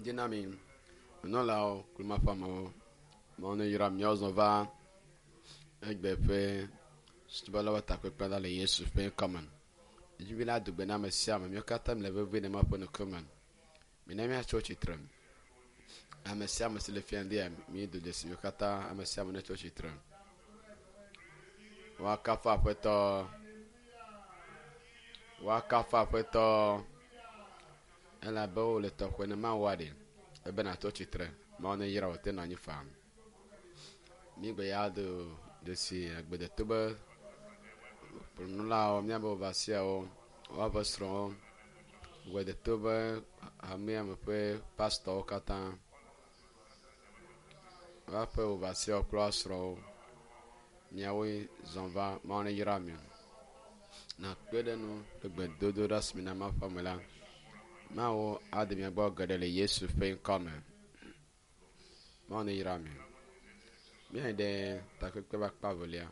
Ŋdi na mi, nunɔlawo kple Mawu ƒe amewo. Mawu neyra míawo zɔ va egbe ƒe subɔlawo takpekpe la le Yesu ƒe ŋkɔme. Edzi la do gbe na ame sia ame. Míawo katã míle vevie le Mawu ƒe ŋkume. Mina míatso tsitre. Ame sia ame si le fia ŋdia, mído dzesi míawo katã ame sia ame netso tsitre. Woakafu Aƒetɔ. Woakafu Aƒetɔ. Elabe wole tɔxɛ ne Mawua ɖe ebe nàtɔ tsitre. Mawu neyra wò te nɔ anyi faa. Mígbe ya do dzesi agbedeto be nunɔlawo, míabe overseerwo, woaƒe srɔ̃wo, gbedeto be hamea me ƒe pastɔwo katã, woaƒe overseerwo kple woa srɔ̃wo. Miawoe zɔ va Mawu neyra mi. Nakpe ɖe nu kple gbedodoɖa si mina Mawu ƒe ame la. Mawu ade mia gbɔ geɖe le Yesu ƒe ŋkɔ me. Mawu neyra mi. Míayi ɖe takpekpe ƒe akpa evelia.